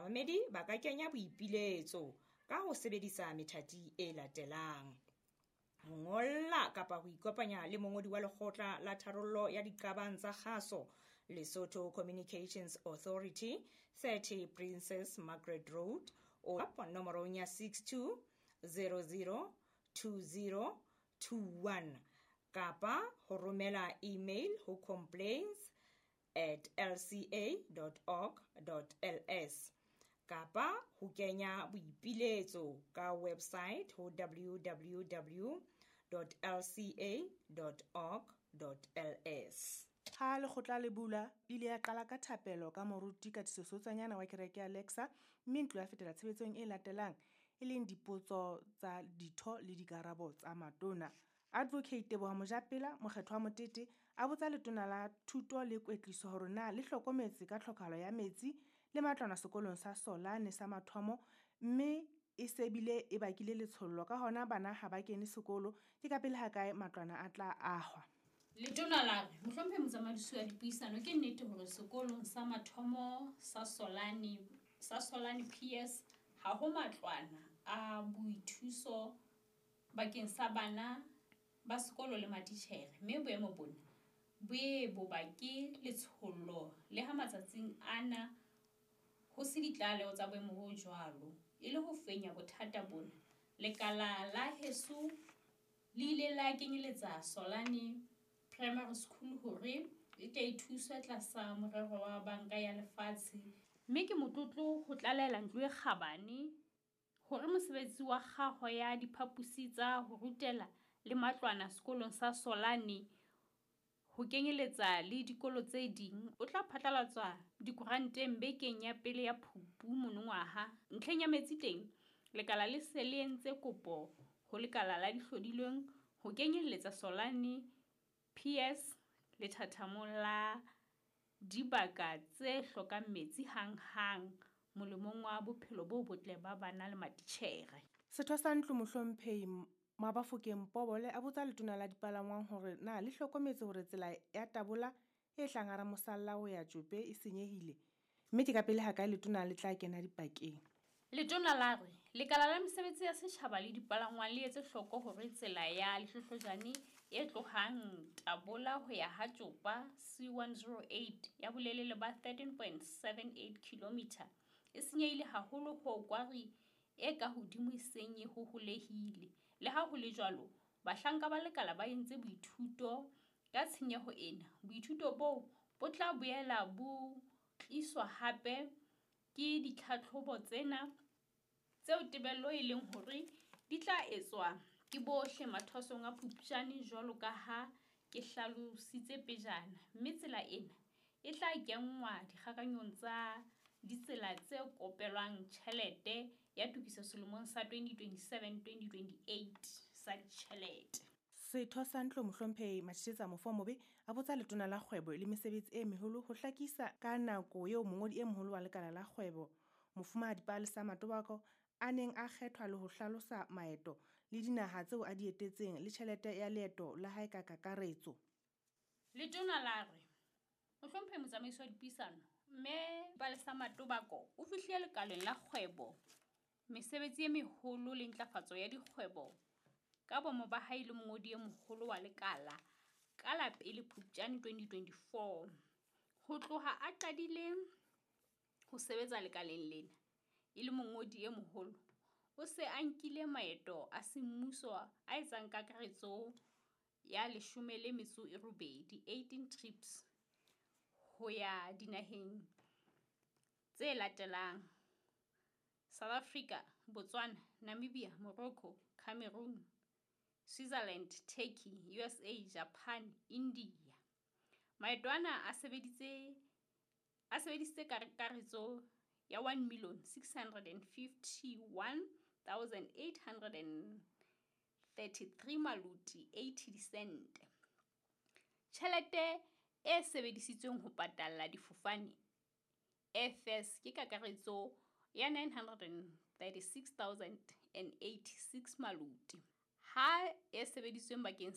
Bamamedi ba ka kenya boipiletso ka ho sebedisa methati e latelang: ho ngolla kapa ho ikopanya le mongodi wa Lekgotla la Tharollo ya Diqabang tsa Kgaso, Lesotho Communications Authority, 30 Princess Margaret Road, o nomorong ya 62 00 20 21 kapa ho romela email ho complaints@lca.org.ls kapa ho kenya boipiletso ka website ho www.lca.org.ls. Ha lekgotla le bula, ile ya qala ka thapelo ka moruti Katiso Seotsanyana wa kereke ya Lexa, mme ntlo ya fetela tshebetsong e latelang, e leng dipotso tsa ditho le dikarabo tsa matona. Advocate Teboho Mojapela, mokgethwa wa Motete, a botsa letona la Thuto le Kwetliso hore na le hlokometse ka tlhokahalo ya metsi le matlwana sekolong sa Solane sa mathomo, mme e se bile e bakile letshollo, ka hona bana ha ba kene sekolo, ke kapele hakae matlwana a tla ahwa. Letona la re, Mohlomphehi Motsamaisi wa Dipuisano, ke nnete hore sekolong sa mathomo sa Solane sa Solane PS ha ho matlwana a boithuso bakeng sa bana ba sekolo le matitjhere, mme boemo bona bo ye bo bake letshollo le ha matsatsing ana ho se ditlaleho tsa boemo bo jwalo. E le ho fenya bothata bona, lekala la heso le ile la kenyeletsa Solane Primary School hore e tle e thuswe tlasa morero wa Banka ya Lefatshe. Mme ke motlotlo ho tlalehela ntlo e kgabane hore mosebetsi wa kgaho ya diphaposi tsa ho rutela le matlwana sekolong sa Solane, ho kenyeletsa le dikolo tse ding, o tla phatlalatswa dikoranteng bekeng ya pele ya Phupu monongwaha. Ntlheng ya metsi teng, lekala le se le entse kopo ho lekala la dihlodilweng ho kenyelletsa Solane PS lethathamong la dibaka tse hlokang metsi hanghang molemong wa bophelo bo botle ba bana le matitjhere. Setho sa ntlo Mohlomphehi Mabafokeng Pobole a botsa letona la dipalangwang hore na le hlokometse hore tsela ya Tabola e hlang hara mosalla ho ya Tjope e senyehile, mme ke kapele hakae letona le tla kena dipakeng. Letona la re, Lekala la Mesebetsi ya Setjhaba le Dipalangwang le etse hloko hore tsela ya Lehlohlojane e tlohang Tabola ho ya ha Tjopa C108 ya bolelele ba 13.78 km e senyehile haholo hoo kwari e ka hodimo e seng e hoholehile. Le ha ho le jwalo, bahlanka ba lekala ba entse boithuto ka tshenyeho ena. Boithuto boo bo tla boela bo tliswa hape ke ditlhatlhobo tsena tseo tebello e leng hore di tla etswa ke bohle mathwasong a Phupjane jwalo ka ha ke hlalositse pejana, mme tsela ena e tla kenngwa dikgakanyong tsa ditsela tse kopelwang tjhelete ya tokiso selemong sa 2027-2028 sa ditjhelete. Setho sa ntlo Mohlomphehi Matjhetjetsa Mofomobe a botsa letona la Kgwebo le Mesebetsi e Meholo ho hlakisa ka nako eo mongodi e moholo wa lekala la kgwebo, Mofumahadi Palesa Matobako, a neng a kgethwa le ho hlalosa maeto le dinaha tseo a di etetseng le tjhelete ya leeto la hae ka kakaretso. Letona la re, Mohlomphehi Motsamaisi wa Dipuisano, Mme Palesa Matobako o fihlile lekaleng la kgwebo, mesebetsi e meholo le ntlafatso ya dikgwebo ka bomo ba hae le mongodi e moholo wa lekala ka la pele Phupjane 2024. Ho tloha a qadile ho sebetsa lekaleng lena e le mongodi e moholo, o se a nkile maeto a semmuso a etsang kakaretso ya 18, 18 trips, ho ya dinaheng tse latelang: South Africa, Botswana, Namibia, Morocco, Cameroon, Switzerland, Turkey, USA, Japan, India. Maeto ana a sebeditse a sebedisitse kakaretso ya 1 651 833 maloti 80 disente. Tjhelete e sebedisitsweng ho patalla difofane, airfares, ke kakaretso ya 936 086 maloti, ha e sebedisitsweng bakeng